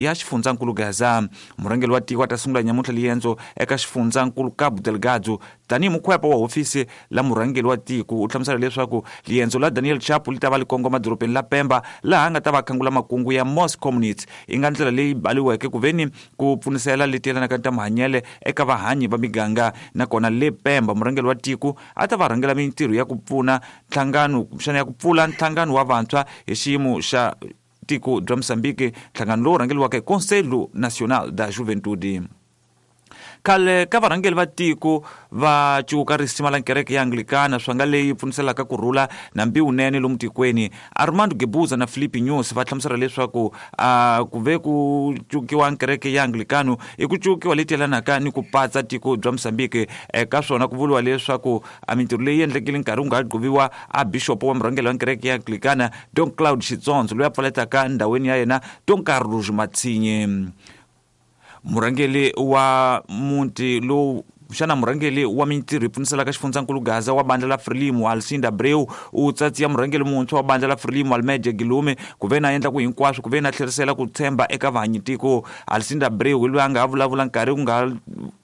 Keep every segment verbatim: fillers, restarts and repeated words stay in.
Ya xifundzankulu Gaza. Murhangeri wa tiko a ta sungula nyamuntlha liendzo eka xifundzankulu Cabo Delgado tanihi mukhwepa wa hofisi la murhangeri wa tiko. U hlamusela leswaku liendzo la Daniel Chapo li ta va li kongoma dorobeni la Pemba, laha a nga ta va khangula makungu ya Mos Community, yi nga ndlela leyi baliweke ku veni ku pfunisela leti yelanaka ta mahanyele eka vahanyi va miganga. Nakona le Pemba murhangeri wa tiko a ta va rhangela mintirho ya ku pfuna nhlangano, kumbexana ya ku pfula nhlangano wa vantshwa hi xiyimo xa tiko bya Mozambique, nhlangano lowu rhangeriwaka hi Conselho Nacional da Juventude. Khale ka varhangeri va tiko va cuka risima la kereke ya Anglikana, swanga leyi pfuniselaka ku rhula na mbiwunene lomu tikweni, Armando Guebuza na Filipe Nyusi va hlamusela leswaku a ku ve ku cukiwa kereke ya Anglikano i ku cukiwa leti yelanaka ni ku patsa tiko bya Mozambique. Eka swona ku vuriwa leswaku a mintirho leyi endlekile nkarhi wu nga gquviwa a bixopo wa murhangeri wa kereke ya Anglikana Don Claude Xitsondzo, loyi a pfaletaka ndhawini ya yena Don Carlos Matsinye. Murhangeri wa muti lowu xana murhangeri wa mintirho yi pfuniselaka xifundzankulu Gaza wa bandla la Frelimo Alcinda Abreu u tsatsiya murhangeri muntshwa wa bandla la Frelimo Almeida Guillaume ku ve na endla ku hinkwaswo ku ve na tlherisela ku tshemba eka vahanyi tiko. Alcinda Abreu hi loyi a nga ha vulavula nkarhi ku nga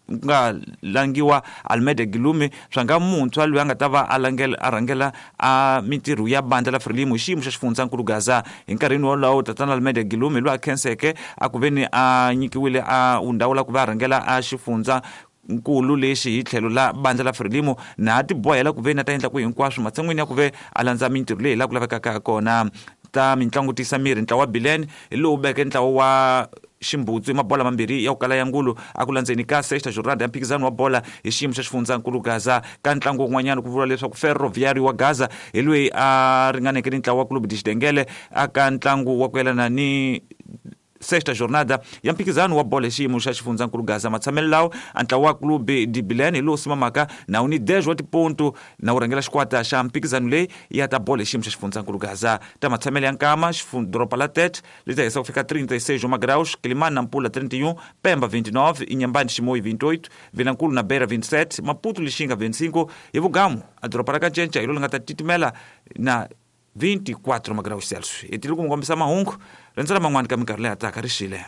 nga langiwa Almeida Guillaume swanga muntshwa loyi a nga ta va a langela a rhangela a mintirho ya bandla la Frelimo hi xiyimo xa xifundzankulu Gaza. Hi nkarhini wolowo tatana Almeida Guillaume loyi a khenseke a ku veni a nyikiwile a ndhawu la ku va a rhangela a xifundza nkulu lexi hi tlhelo la bandla la Frelimo, na a tibohela ku ve na ta endla ku hinkwaswo matshan'wini ya ku ve a landza mintirho leyi la ku lavekaka ha kona. Ta mitlangu tisa miri, ntlawa wa Bilene hi lowu veke ntlawa wa ximbutsu hi mabola mambirhi ya ku kala ya ngulu a ku landzeni ka sexta jornada ya mphikizano wa bola hi xiyimo xa xifundzankulu Gaza. Ka ntlangu wun'wanyana ku vuriwa leswaku Ferroviário wa Gaza hi loyi a ringaneke ni ntlawa wa Clube de Xidengele aka ntlangu wa ku yelana ni sexta jornada ya mphikizano wa bolo hi xiyimo xa xifundzankulu Gaza. Matshamelo lawo a ntlawa wa Clube de Bilene hi lowu simamaka na wu ni dez wa tiponto na wu rhangela xikwata xa mphikizano leyi ya ta bolo hi xiyimo xa xifundzankulu Gaza. Ta matshamelo ya nkama, doroba la Tete li ta hisa ku fika trinta e seis magraus, Quelimane na Nampula trinta e um, Pemba vinte e nove, Inhambane Chimoio vinte e oito, Vilankulo na Beira vinte e sete, Maputo Lixinga vinte e cinco hi Vugamu a doroba ra Kanchencha hi lo li nga ta titimela na vinte e quatro magraus Celsius. Hi tile ku mi kombisa mahungu rendzela man'wani ka minkarhi leyi hataka ri xile.